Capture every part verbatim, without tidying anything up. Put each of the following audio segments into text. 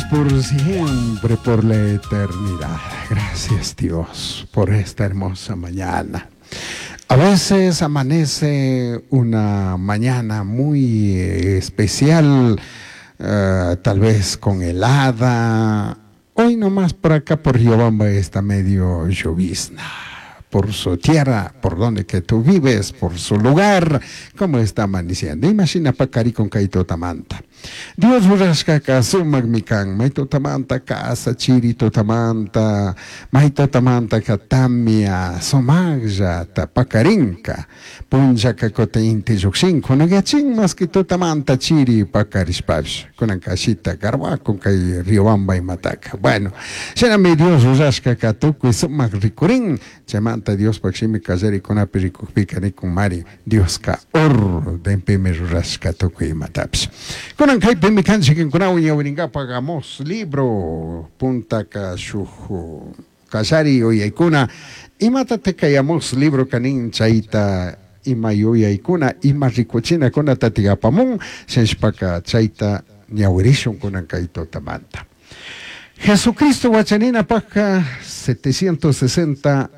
por siempre, por la eternidad. Gracias, Dios, por esta hermosa mañana. A veces amanece una mañana muy especial, eh, tal vez con helada. Hoy nomás por acá por Riobamba está medio llovizna. Por su tierra, por donde que tú vives, por su lugar, cómo está amaneciendo. Imagina pacari con kay tutamanta. Dios rurashkaka sumakmi kan, may tutamanta casa chiri tutamanta, may tutamanta ka tamia sumaqllata pakarinka, punllaka kutin inti llukshin, kunagachin mas que tutamanta chiri pakarishpapish, kunan kashita garwakun kay Riobamba imataka. Bueno, shinami Dios rurashkaka tukuy sumak rikurin, chaymanta Diospaq shimi kallarikunapi rikukpika nikun mari Dioska ordenpimi rurashka tukuy imatapish. Kunan kaypimi kanchik kinkunawan ñawirinkapaq Amos libro puntaka shuk kallari yuyaykuna imatatik kay Amos libro kanin chayta ima yuyaykuna ima rikuchinakunatatik apamun shinashpaka chayta ñawirishun kunan kay tutamanta. Jesucristo wachaninapaqka setecientos sesenta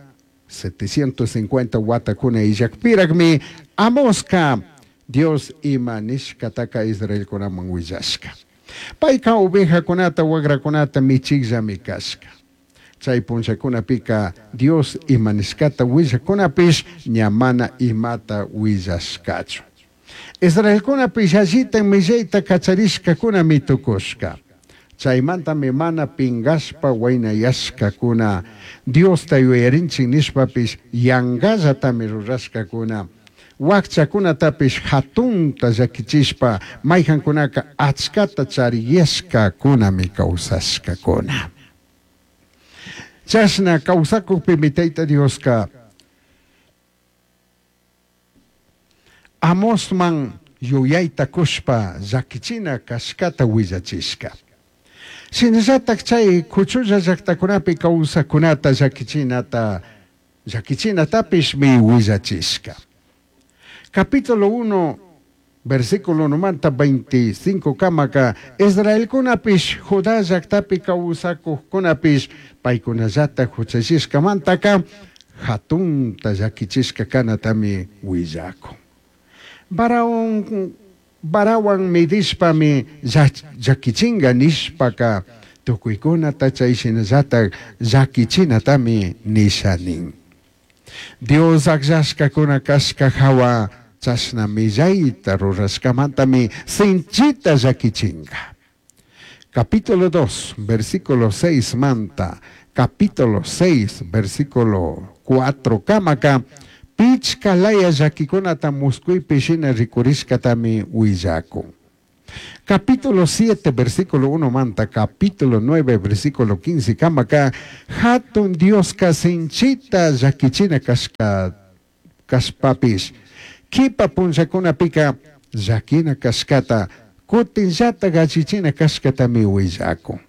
setecientos cincuenta watakuna illakpiraqmi Amoska Dios ima nishkataka Israelkunaman willashka. Payka ovejakunata wagrakunata michikllami kashka. Chay punllakunapika Dios ima nishkata willakunapish ña mana imata willashkachu. Israelkunapish allitan millayta kacharishkakunami tukushka. Chaymantami mana pingashpa waynayashkakuna Diosta yuyarinchik nishpapish yangallatami rurashkakuna. Wakchakunatapish hatunta llakichishpa mayqankunaka achkata chariyashkakunami kawsashkakuna. Chashna kawsakukpimi Tayta Dioska Amosman yuyayta kushpa llakichina kashkata willachishka. Shinallatak chay kuchulla llaktakunapi kawsakunata llakichinata llakichinatapishmi willachishka. Capítulo uno, versículo numanta veinticinco kamaka, Israelkunapish, Judá llaktapi kawsakuqkunapish, paykunallata huchallishkamantaka, hatunta llakichishka kanatami willakun. Baraun, barawan midishpami llakichinga nishpaka, tukuykunata chay shinallata llakichinatami nisha nin. Dios akllashkakuna kashka hawa chashna millayta rurashkamantami sinchita llakichinga. Capítulo dos, versículo seis manta, capítulo seis, versículo cuatro kamaka, pichka laya llakikunata muskuypi shina rikurishkatami willakun. Capítulo siete, versículo uno manta, capítulo nueve, versículo quince, kamaka, hatun Dioska sinchita llakichina kashka, kashpapish, kipa punllakunapika llakina kashkata, kutinllata gachichina kashkatami willakun.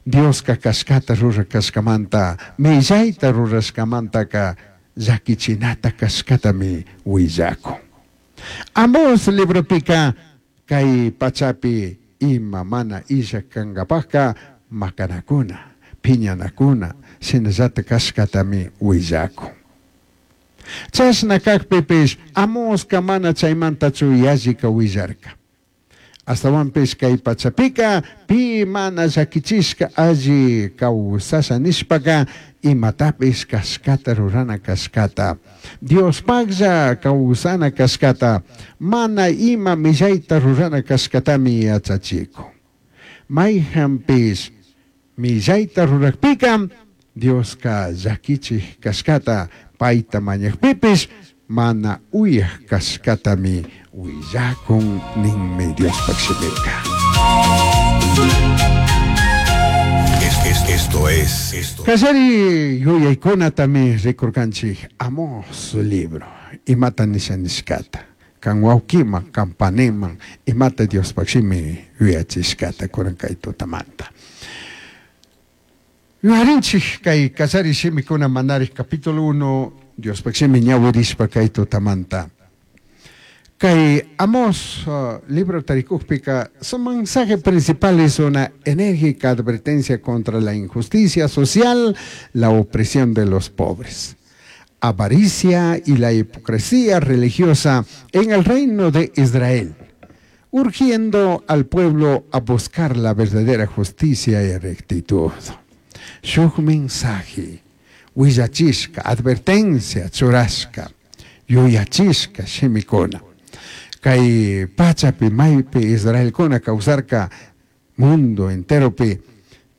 Dioska kashkata rurashkamanta, millayta rurashkamantaka llakichinata kashkatami willakun. Amos libropika kay pachapi ima mana illa kankapaqka makanakuna, phiñanakuna, shinallata kashkatami willakun. Chashna kakpipish Amoska mana chaymantachu yallika willarka. Astawanpish kay pachapika pi mana llakichishka alli kawsasha nishpaka imatapish kashkata rurana kashkata, Diospaqlla kawsana kashkata, mana ima millayta rurana kashkatami yachachikun. Mayqanpish millayta rurakpika Dioska llakichik kashkata payta mañakpipish mana uyaq kashkatami willakun ninmi Diospaq shimika. Esto es esto. Kallari yuyaykunatami rikurkanchik Amos libro imata nisha nishkata kan wawkiman kan paniman imata Diospaq shimi yuyachishkata kunan kay tutamanta. Yuyarinchik kay kallari shimikuna manarij capítulo uno Diospaq shimi ñawirishpa kay tutamanta. Kay Amós uh, libro tarikukpika, su mensaje principal es una enérgica advertencia contra la injusticia social, la opresión de los pobres, avaricia y la hipocresía religiosa en el reino de Israel, urgiendo al pueblo a buscar la verdadera justicia y rectitud. Shuk mensaje, willachishka, advertencia, churashka, yuyachishka, shimikuna. Kay pachapi maypi Israelkuna kawsarka mundo enteropi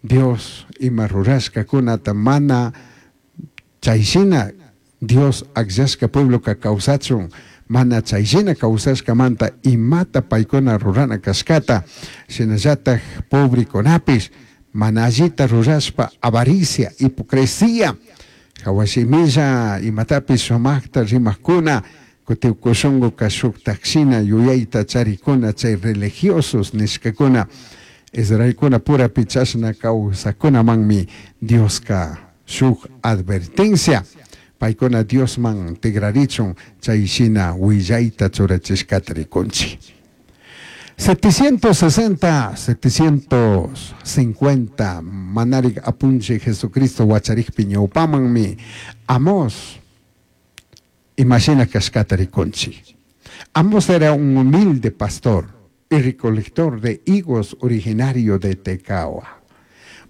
Dios ima rurashkakunata mana chayshina Dios akllashka puebloka kawsachun mana chayshina kawsashkamanta imata paykuna rurana kashkata shinallatak pobrekunapish mana allita rurashpa avaricia, hipocresía hawashimilla imatapish sumakta rimakuna kutin shunguka shuktakshina yuyayta charikuna chay religiosos nishkakuna Israelkuna purapi chashna kawsakunamanmi Dioska shuk advertencia paykuna Diosman tigrarichun chayshina willayta churachishkata rikunchik. setecientos sesenta, setecientos cincuenta manarik apunchik Jesucristo wacharikpi ñawpamanmi Amós imashina kashkata rikunchik. Amós era un humilde pastor y recolector de higos originario de Tecoa,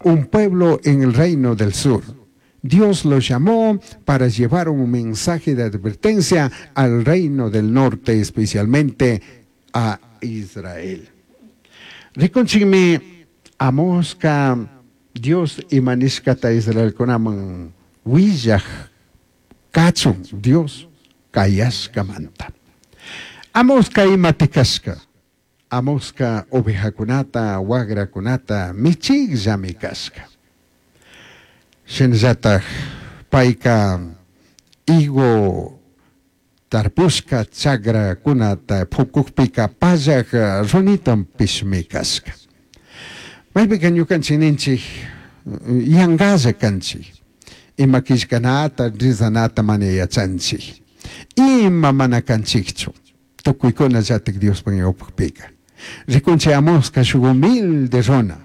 un pueblo en el reino del sur. Dios lo llamó para llevar un mensaje de advertencia al reino del norte, especialmente a Israel. Rikunchikmi Amosca Dios imanishkata Israelkunaman willaj kachun Dios kayashkamanta. Amosca imati kashka. Amosca ovejakunata, wagrakunata michikllami kashka. Shinallatak payka higo tarpushka chagrakunata pukukpika pallak runitanpishmi kashka. Maypika ñukanchik ninchik yankalla kanchik. Ima killkanata, rizanata mana yachanchik. Ima mana kanchikchu. Tukuykunallatik Diospuk ñawpakpika. Rikunchik Amosca shuk humilde runa.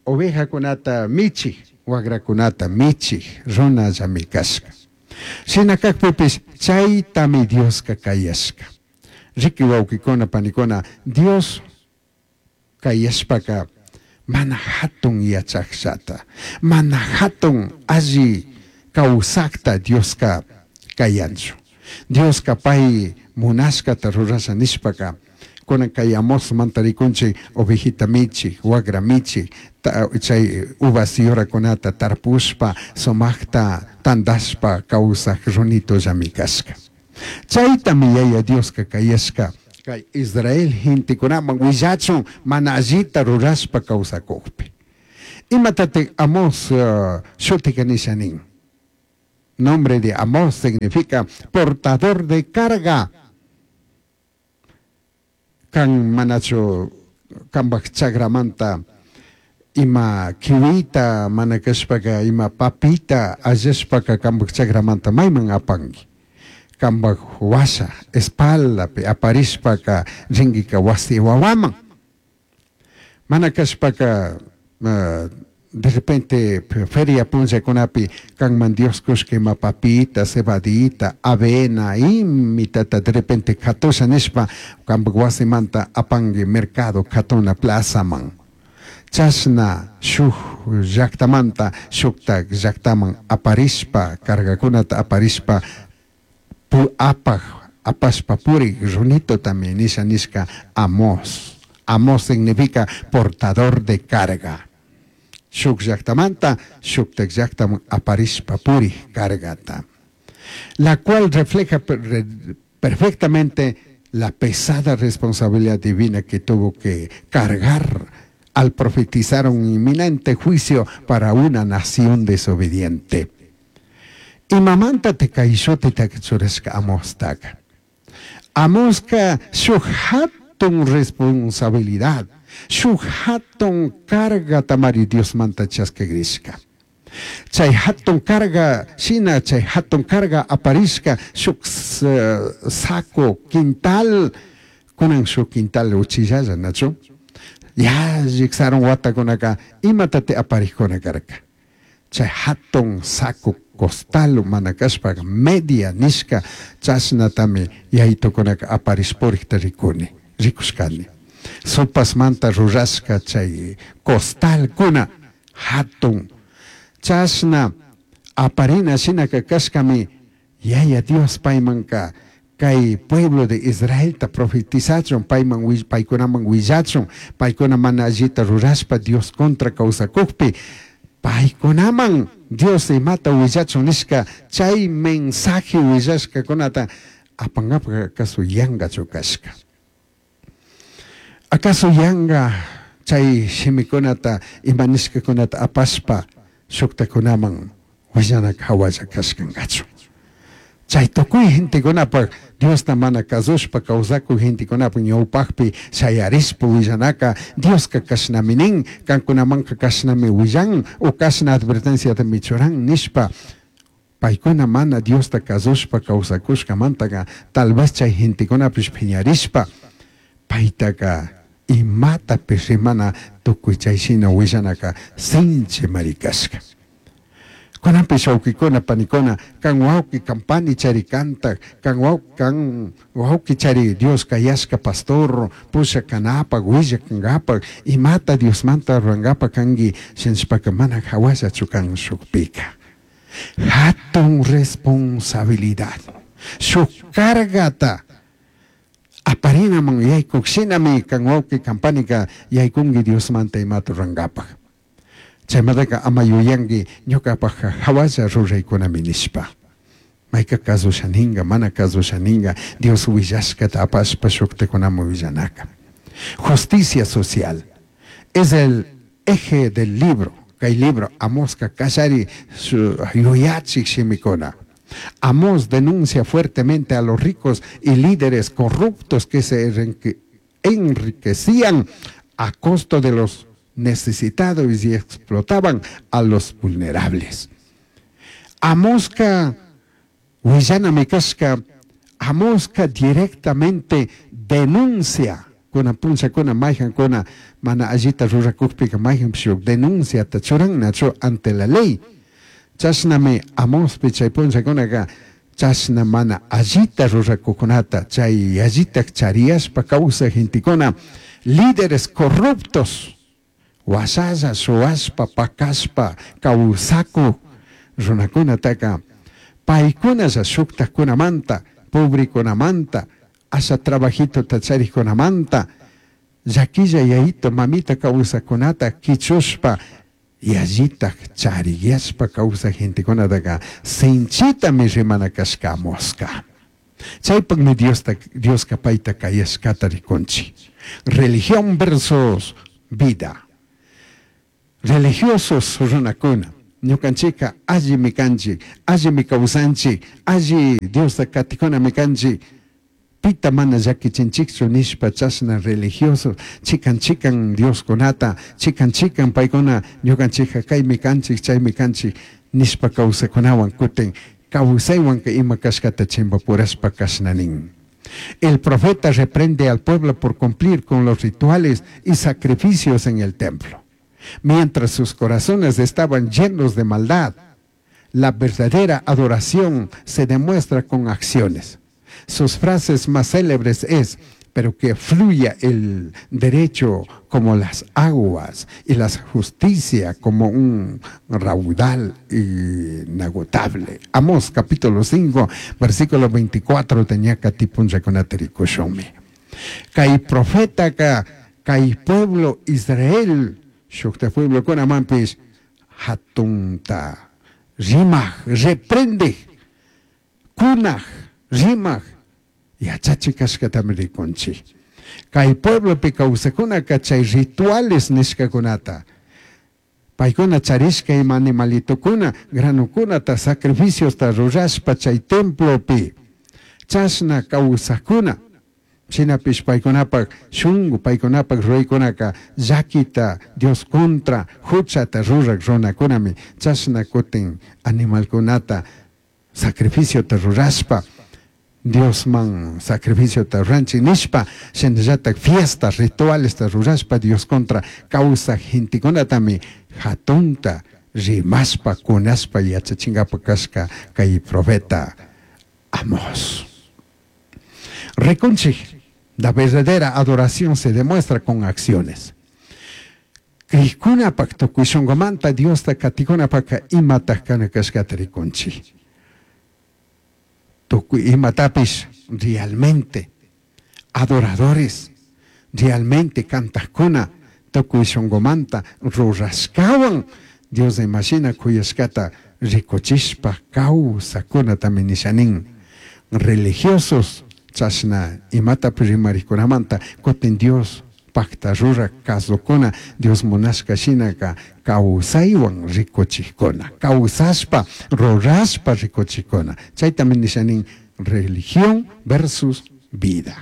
Ovejakunata michik, wagrakunata michik runallami kashka. Shina kakpipish chaytami Dioska kayashka. Riki wawkikuna panikuna, Dios kayashpaka mana hatun yachakshata, mana hatun alli kawsakta Dioska kayanchu. Dioska pay munashkata rurasha nishpaka, kunan kay Amosmanta rikunchik ovejita michik, wagra michik, chay uvas yurakunata tarpushpa, sumakta tandashpa kawsak runitollami kashka. Chaytami Yaya Dioska kayashka kay Israel gentekunaman willachun mana allita rurashpa kawsakukpi. Imatatik Amos uh, shutika nisha nin? Nombre de Amós significa portador de carga. Kan manachu kambak chagramanta ima kiwita mana kashpaka ima papita allashpaka kambak chagramanta mayman apanki. Kambak washa espaldapi aparishpaka ringika wasi wawaman. Mana kashpaka uh, de repente feria punllakunapi kanman Dios kushka ima papita, cebadita, avena, imitata de repente katusha nishpa kambak wasimanta apangi mercado katuna plazaman. Chashna shuk llaktamanta shuktak llaktaman aparishpa cargakunata aparishpa pu apaj apashpa purik runito también nisha nishka Amós. Amós significa portador de carga. Shuk llaktamanta shuktak llaktaman aparishpa purik cargata. La cual refleja perfectamente la pesada responsabilidad divina que tuvo que cargar al profetizar un inminente juicio para una nación desobediente. Imamanta kay shutita churashka Amostaka. Amoska shuk hatun responsabilidad, shuk hatun carga tamari Diosmanta chaskigrishka. Chay hatun carga shina chay hatun carga aparishka shuk saco quintal kunan shuk quintal uchillalla nachu yallik sarun watakunaka imatati aparijkuna karka chay hatun saco costal mana kashpaka media nishka chashnatami yayitukunaka aparishpurikta rikuni rikushkani supasmanta rurashka chay costalkuna hatun chashna aparina shinaka kashkami Yaya Dios paymanka kay pueblo de Israelta profetizachun payman paykunaman willachun paykuna mana allita rurashpa Dios contra kawsakukpi paykunaman Dios imata willachun nishka chay mensaje willashkakunata apankapak acaso yangachu kashka acaso yanga chay shimikunata ima nishkakunata apashpa shuktakunaman willanaka hawalla kashkankachu chay tukuy gentekunapak Diosta mana kasushpa kawsakuk gentekunapak ñawpakpi shayarishpa willanaka Dioska kashnami nin kankunamanka kashnami willan o kashna advertenciatami churan nishpa paykuna mana Diosta kasushpa kawsakushkamantaka tal vez chay gentekunapish phiñarishpa paytaka imatapish rimana tukuy chay shina willanaka sinchi kashka. Kunanpish wawkikuna panikuna kan wawki kan pani chari kantak kan wawki kan wawki chari Dios kayashka pastor pusha kanapak willak kankapak imata Diosmanta rurankapak kanki shinashpaka mana hawallachu kan shukpika hatun responsabilidad shuk cargata aparinaman yaykuk shinami kan wawki kan panika yaykunki Diosmanta imata rurankapak chaymantaka ama yuyanki ñukapakka hawalla ruraykunami nishpa mayka kasusha ninka mana kasusha ninka Dios willashkata apashpa shuktakunaman willanaka. Justicia social es el eje del libro kay libro Amoska kallari yuyachik shimikuna. Amós denuncia fuertemente a los ricos y líderes corruptos que se enriquecían a costo de los necesitados y explotaban a los vulnerables. Amoska willanami kashka Amoska directamente denuncia kuna punchakuna mayjankuna mana allita rurakukpika mayjanpish denunciata churannachu ante la ley. Chashnami Amospi chay punchakunaka chashna mana allita rurakukunata chay allita chariyashpa kawsaq gentekuna líderes corruptos washalla shuwashpa pakashpa kawsakuk runakunataka paykunalla shuktakunamanta pobrekunamanta asha trabajitota charikkunamanta llakilla yayito mamita kawsakunata kichushpa yallitak chariyashpa kawsaq gentekunataka sinchitami rimana kashka Amoska. Chaypakmi Diosta Dioska payta kayashkata rikunchik. Religión versus vida. Religiosos runakuna ñukanchika allimi kanchik allimi kawsanchik alli Diosta katikunami kanchik pita mana llakichinchikchu nishpa chashna religiosos chikan chikan Dioskunata chikan chikan paykuna ñukanchikka kaymi kanchik chaymi kanchik nishpa kawsakunawan kutin kawsaywanka ima kashkata chimpapurashpa kashna nin. El profeta reprende al pueblo por cumplir con los rituales y sacrificios en el templo, mientras sus corazones estaban llenos de maldad. La verdadera adoración se demuestra con acciones. Sus frases más célebres es: pero que fluya el derecho como las aguas y la justicia como un raudal inagotable. Amós capítulo cinco, versículo veinticuatro, tenía katipunchakunata rikushunmi. Kay profetaka, kay pueblo Israel, shukta pueblokunamanpish hatunta rimaj, reprende, kunaj, rimaj, yachachik kashkatami rikunchik. Kay pueblopi kawsakunaka chay rituales nishkakunata, paykuna charishka ima animalitokuna, granukunata, sacrificiosta rurashpa chay templopi, chashna kawsakuna, Shinapish paykunapak shunku, paykunapak ruraykunaka llaquita Dios contra huchata rurak runakunami chashna kutin animalkunata sacrificiota rurashpa Diosman sacrificiota ruranchik nishpa shinallatak fiestas ritualesta rurashpa Dios contra kawsaj gentekunatami hatunta rimashpa kunashpa yachachinkapak kashka kay profeta Amos. Rikunchik, la verdadera adoración se demuestra con acciones. Krikunapak tukuy shunkumanta Diosta katikunapaka imataj kana kashkata rikunchik. Tukuy imatapish realmente adoradores, realmente kantajkuna tukuy shunkumanta rurashkawan Dios imashina kuyashkata rikuchishpa kawsakunatami nishanin. Religiosos chashna imatapish rimarikunamanta kutin Dios pakta rurak kasukuna Dios munashka shinaka kawsaywan rikuchikuna kawsashpa rurashpa rikuchikuna chaytami nishanin religión versus vida.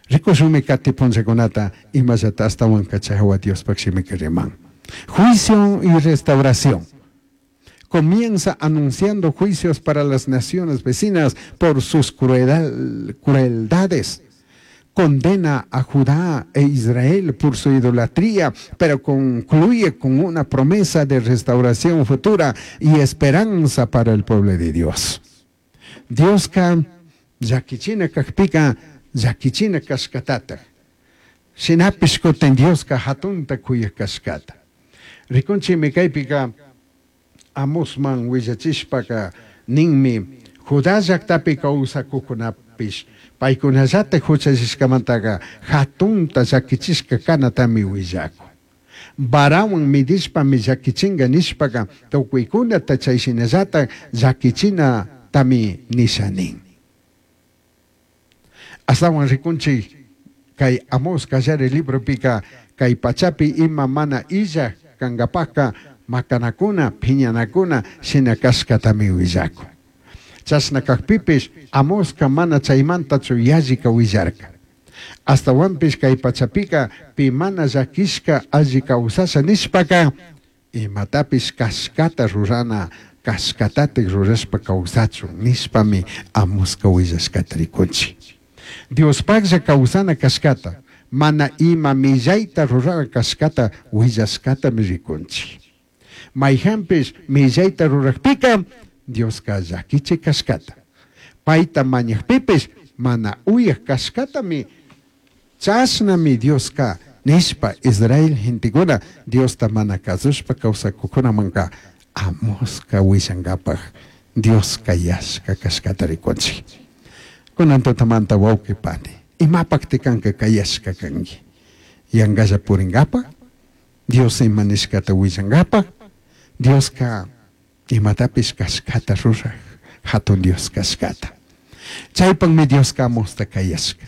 Rikushunmi kati punllakunata imallata ashtawanka chay hawa Diospak shimika riman. Juicio y restauración. Comienza anunciando juicios para las naciones vecinas por sus crueldad, crueldades. Condena a Judá e Israel por su idolatría, pero concluye con una promesa de restauración futura y esperanza para el pueblo de Dios. Dioska llaquichina kajpika llaquichina kashkatataj. Shinapish kutin Dioska hatunta kuyaj kashkata. Rikunchimi kaypika Amosman willachishpaka ninmi Judá llaktapi kawsakuqkunapish paykunallataj huchallishkamantaqa hatunta llakichishka kanatami willakun. Varawan midishpami llakichinka nishpaka tukuykunata chay shinallataj llakichinatami nisha nin. Ashtawan rikunchik kay Amos kallari libropika kay pachapi ima mana illaj kankapaka makanakuna, phiñanakuna shina kashkatami willakun. Chashna kajpipish Amoska mana chaymantachu yallika willarka. Ashtawanpish kay pachapika pi mana llakishka alli kawsasha nishpaka imatapish kashkata rurana kashkatatik rurashpa kawsachun nishpami Amoska willashkata rikunchik. Diospaklla kawsana kashkata mana ima millayta rurana kashkata willashkatami rikunchik. Mayhanpish millayta rurakpika Dioska llakichik kashkata. Payta mañakpipish mana uyaj kashkatami chashnami Dioska nishpa Israel gentekuna Diosta mana kasushpa kawsakukunamanka Amoska willankapak Dioska yashka kashkata rikunchik. Kunan tutamanta wawqi pani, imapakti kanka kayashka kanki? Yankalla purinkapak? Dios ima nishkata willankapak? Dioska imatapish kashkata ruraj hatun Dios kashkata. Chaypakmi Dioska Amosta kayashka.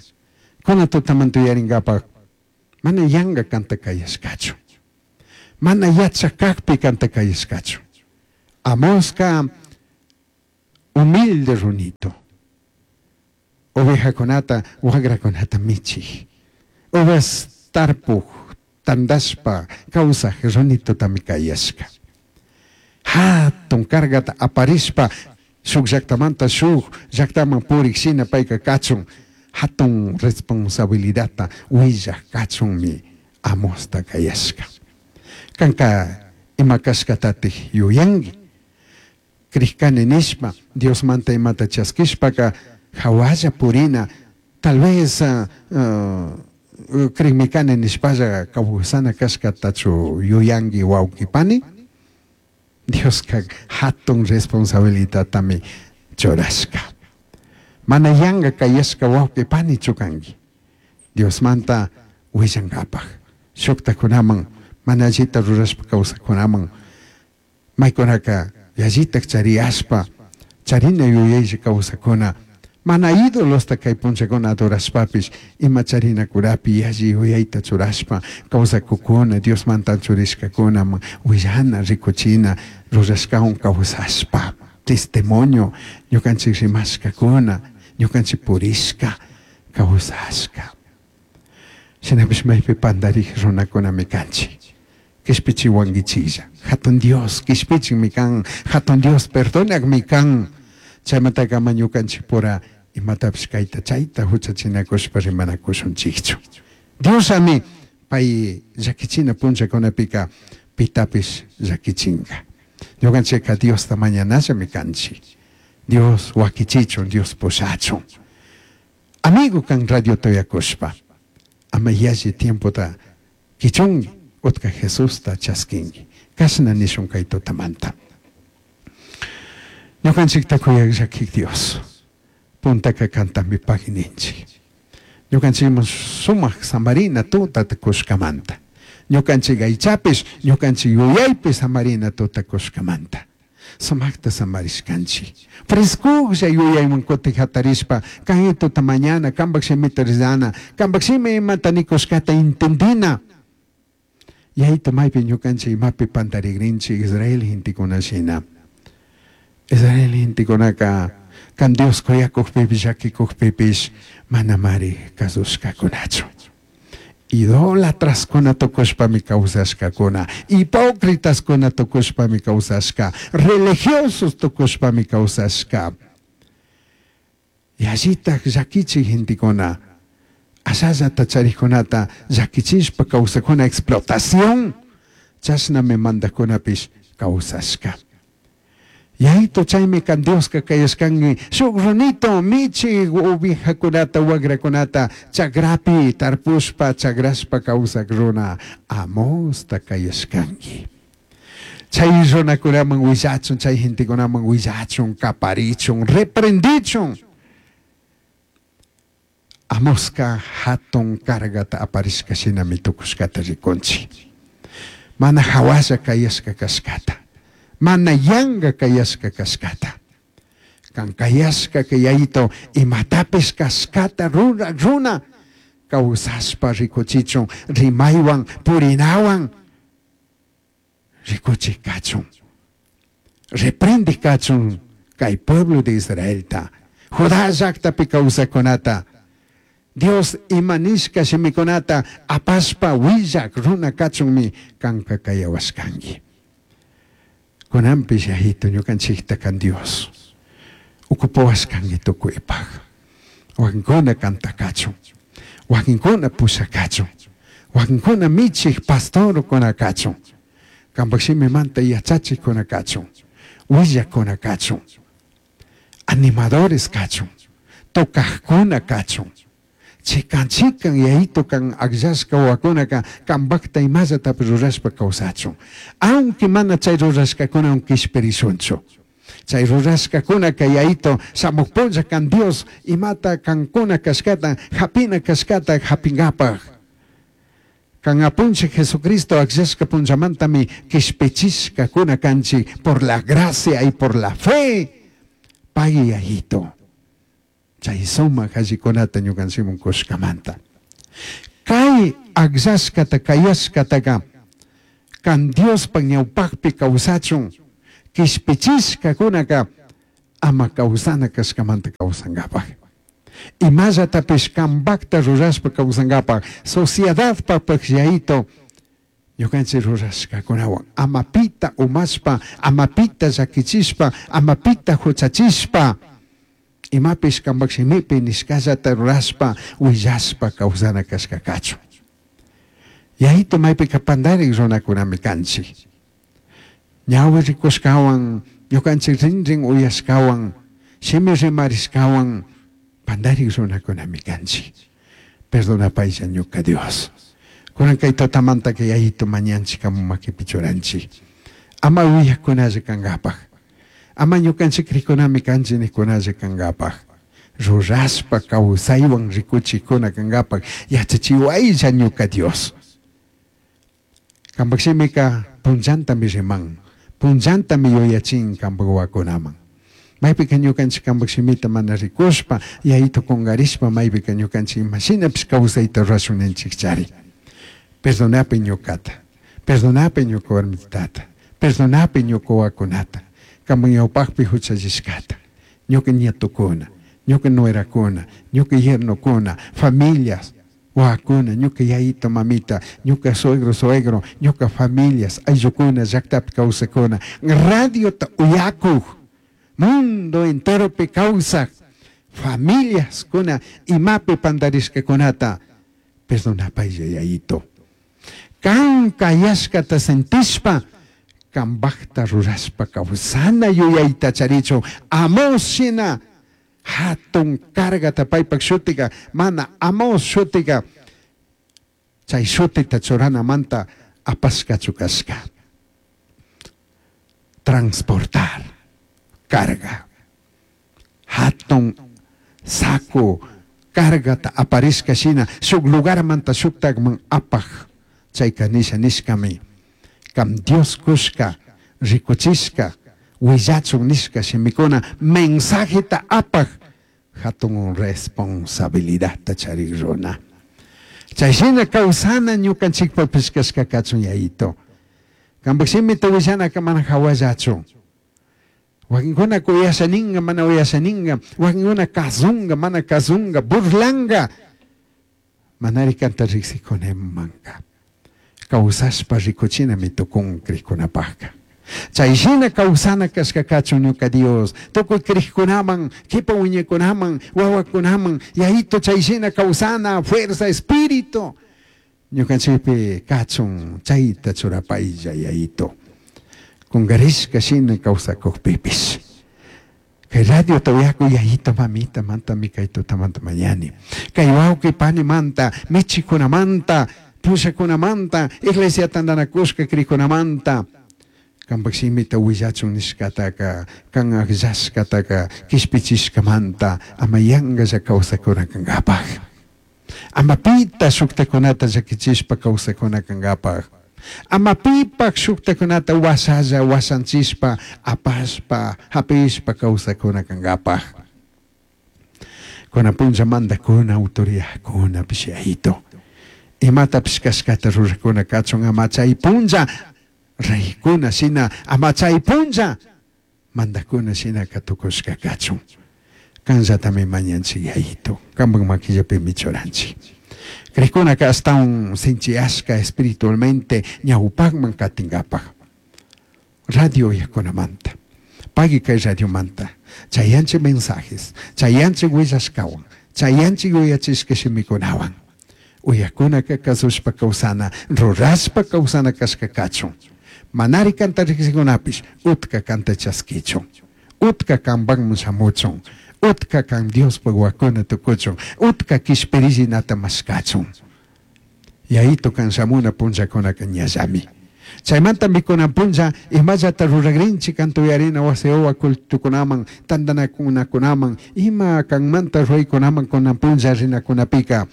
Kunan tutamanta yuyarinkapak mana yanka kanta kayashkachu. Mana yachak kakpi kanta kayashkachu. Amoska humilde runito. Ovejakunata, wagrakunata michik. Uvas tarpuj, tandashpa, kawsaj runitotami kayashka. Hatun cargata aparishpa, shuk llaktamanta shuk llaktaman purik shina payka kachun, hatun responsabilidadta willaj kachunmi Amosta kayashka. Kanka ima kashkatatik yuyanki. Krishkani nishpa, Diosmanta imata chaskishpaka hawalla purina, tal vez uh, uh, krikmikani nishpalla kawsana kashkatachu yuyanki wawqi pani. Dioska hatun responsabilidadtami churashka. Mana yanka kayashka wawqi panichu kanki. Diosmanta willankapak. Shuktakunaman, mana allita rurashpa kawsakunaman, maykunaka yallitak chariyashpa, charina yuyaylla kawsakuna, mana ídolosta kay punllakuna adorashpapish, ima charinakurapi yalli yuyayta churashpa kawsakukuna, Diosmanta churishkakunaman willana, rikuchina, rurashkawan kawsashpa, testimonio, ñukanchik rimashkakuna, ñukanchik purishka, Kawsashka. Shinapish maypi pandarik runakunami kanchik. Kishpichiwankichilla. Hatun Dios kishpichinmi kan. Hatun Dios perdonakmi kan. Chaymantaka ama ñukanchikpura imatapish kayta chayta huchachinakushpa rimanakushunchikchu. Diosami pay llakichina punllakunapika pitapish llakichinka. Ñukanchikka Diosta mañanallami kanchik. Dios wakichichun, Dios pushachun. Amigo kan radio toyakushpa. Ama yalli tiempota kichunki, utka Jesusta chaskinki. Kashna nishun kay tutamanta. Ñukanchikta kuyak llakik Dios. Puntaka kantami pagininchik. Ñukanchikman sumak samarina tutata kushkamanta. Ñukanchik aychapish, ñukanchik yuyaypish samarina tuta kushkamanta. Sumakta samarishkanchik. Frescujlla yuyayman kutik hatarishpa, kay tuta mañana, kanpak shimita rizana, kanpak shimi imata nikushkata entendina. Yayta maypi ñukanchik imapi pantarigrinchik Israel gentekuna shina. Israel gentekunaka kan Dios kuyakukpipish llakikukpipish manamari kasushkakunachu. Idólatraskuna tukushpami kawsashkakuna, hipócritaskuna tukushpami kawsashka, religiosos tukushpami kawsashka. Yallitak llakichik gentekuna, ashallata charikkunata llakichishpa kawsakuna explotación, chashnami mandakunapish kawsashka. Yayito chaymi kan Dioska kayashkanki shuk runito michi ovejakunata wagrakunata chagrapi tarpushpa chagrashpa kawsak runa Amosta kayashkanki. Chay runakunaman willachun, chay gentekunaman willachun, kaparichun, reprendichun. Amoska hatun cargata aparishka shinami tukushkata rikunchik. Mana hawalla kayashka kashkata. Mana yanga kayashka kashkata. Kan kayashka kayayito imatapish kashkata rura runa kawsashpa rikuchichun rimaywan purinawan rikuchik kachun. Reprende kachun kay pueblo de Israelta. Judá llaktapi kawsakunata. Dios imanishka shimikunata apashpa willak runa kachunmi kanka kayawashkanki. Kunanpish yayito ñukanchikta kan Dios. Ukupawashkanki tukuypaq. Wakinkuna kantakachun. Wakinkuna pushakachun. Wakinkuna michik pastorkuna kachun. Kanpak shimimanta yachachikkuna kachun. Willakuna kachun. Animadores kachun. Tocajkuna kachun. Chikan chikan yayito kan akllashka wawakunaka kanpakta imallatapish rurashpa kawsachun. Aunque mana chay rurashkakuna kishpirishunchu. Chay rurashkakunaka yayito shamuq punlla kan Dios imata kankuna kashkata hapina kashkata hapinkapak. Kan apunchik Jesucristo akllashka punllamantami kishpichishkakuna kanchik por la gracia y por la fe. Pagui yayito. Chay sumak allikunata ñukanchikman kushkamanta. Kay akllashkata kayashkataka kan Diospak ñawpakpi kawsachun kishpichishkakunaka ama kawsana kashkamanta kawsankapak. Imallatapish kanpakta rurashpa kawsankapak sociedadpakpak yayito ñukanchik rurashkakunawan ama pita umashpa ama pita llakichishpa ama pita huchachishpa imapish kanpak shimipi nishkallata rurashpa willashpa kawsana kashkakachun. Yayito maypika pandarik runakunami kanchik. Ñawi rikushkawan ñukanchik rinrin uyashkawan shimi rimarishkawan pandarik runakunami kanchik. Perdonapaylla ñuka Dios. Kunan kay tutamantaka yayito mañanchik kamu makipi churanchik. Ama willakunalla kankapak. Ama ñukanchik rikunami kanchik nikunalla kankapak. Rurashpa kawsaywan rikuchikuna kankapak yachachiwaylla ñuka Dios. Kanpak shimika punllantami riman. Punllantami yuyachin kanpak wawakunaman. Maypika ñukanchik kanpak shimita mana rikushpa yayito kunkarishpa maypika ñukanchik imashinapish kawsayta rurashun ninchikchari. Perdonapi ñukata. Perdonapi ñuka warmitata. Perdonapi ñuka wawakunata. Kanpak ñawpakpi huchallishkata. Ñuka nietukuna. Ñuka nuerakuna, ñuka yernokuna, familias, wawakuna, ñuka yayito mamita, ñuka suegro suegro, ñuka familias, ayllukuna, llaktapi kawsakuna, radiota uyakuj, mundo enteropi kawsaj, familias kuna imapi pandarishkakunata perdonapaylla yayito. Kan kayashkata sentishpa, kambajta rurashpa kawsana yuyayta charichun, Amós shina hatun cargata paypak shutika, mana Amós shutika, chay shutita churanamanta apashkachu kashka. Transportar carga. Hatun saco cargata aparishka shina, shuk lugarmanta shuktakman apaj, chayka nisha nishkami. Kam Dios kushka, rikuchishka, willachun nishka shimikuna, mensajeta apaj, hatun responsabilidadta charik runa. Chay shina kawsana ñukanchikpapish kashka kachun yayito. Kampak shimita willanaka mana hawallachu. Wakinkuna uyashaninga, mana uyashaninga, wakinkuna kasunga, mana kasunga, burlanga. Manari kanta riksikunemanka. Kawsashpa rikuchinami tukun krikunapajka. Chay shina kawsana kashka kachun ñuka Dios. Tukuy krikunaman, kipa wiñakunaman, wawakunaman, yayito chay shina kawsana, fuerza, espíritu. Ñukanchikpi kachun chayta churapaylla yayito. Kungarishka shina kawsakukpipis. Kay radio tawiyaku yayito mamita manta mi kay tutamanta mañani. Kay wawqi pani manta, michikunamanta, pushakunamanta, iglesia tantanakushka krikunamanta. Kampak shimita willachun nishkataka, kan akllashkataka, kishpichishkamanta, ama yankalla kawsakuna kankapaj. Ama pita shuktakunata llakichishpa kawsakuna kankapaj. Ama pipak shuktakunata wasalla wasanchishpa, apashpa, hapishpa kawsakuna kankapaj. Kuna punlla mandakuna, autoridadkuna pishayito. Imatapish kashkata rurakuna kachun ama chay punlla reykuna shina, ama chay punlla mandakuna shina katukushka kachun. Kanllatami mañanchik yayito, kampak makillapimi churanchik. Krikunaka astawan sinchiyashka espiritualmente ñawpakman katinkapak. Radio uyakunamanta, pagui kay radiomanta, chayanchik mensajes, chayanchik willashkawan, chayanchik uyachishka shimikunawan. Uyakunaka kasushpa kawsana, rurashpa kawsana kashka kachun. Manari kanta riksikunapish, utka kanta chaskichun, utka kanpakman shamuchun, utka kan Diospaj wakuna tukuchun, utka kishpirillinata mashkachun. Yayito kan shamuna punllakunaka ñallami. Chaymanta mikunan punlla imallata ruragrinchik kantuyarina wasiwa cultukunaman, tantanakunakunaman, ima kanmanta ruraykunaman kunan punlla rinakunapika.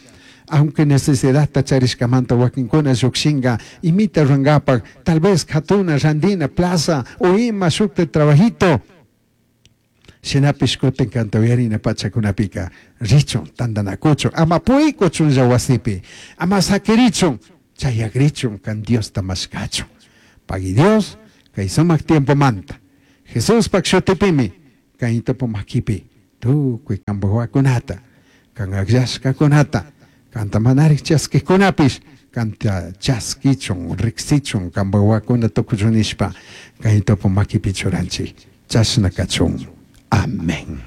Aunque necesidad charishkamanta wakinkuna llukshinka, imita rurankapak, tal vez katuna, randina, plaza, o ima shukta trabajito. Shinapish kutin kantuyarina pachakunapika, richun, tantanakuchun, ama puykuchunlla wasipi, ama sakirichun, chayagrichun kan Diosta mashkachun. Pagui Dios, kay sumak tiempo manta. Jesuspak shutipimi, kaytopo makipi, tukuy kampuwakunata, kan akllashkakunata, kanta manarik chaskikunapish, kanta chaskichun, riksichun, kampuwakuna tukuchun nishpa, kaytopo makipi churanchik, chashna kachun. Amén.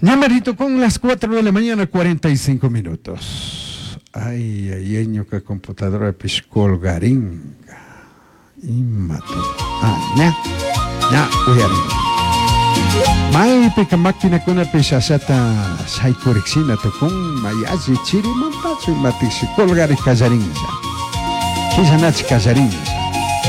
Ñamarito con las cuatro de la mañana, cuarenta y cinco minutos. Ay, ay, ay, ñuka computadora piscolgaringa. Imato. Ah, ña, ña, uyaringa. Maypika maquinakuna pishashata shaykurikshina tukun, mayashi chiri mantachu imatiksi colgari kallarinlla. Killanachi kallarinlla.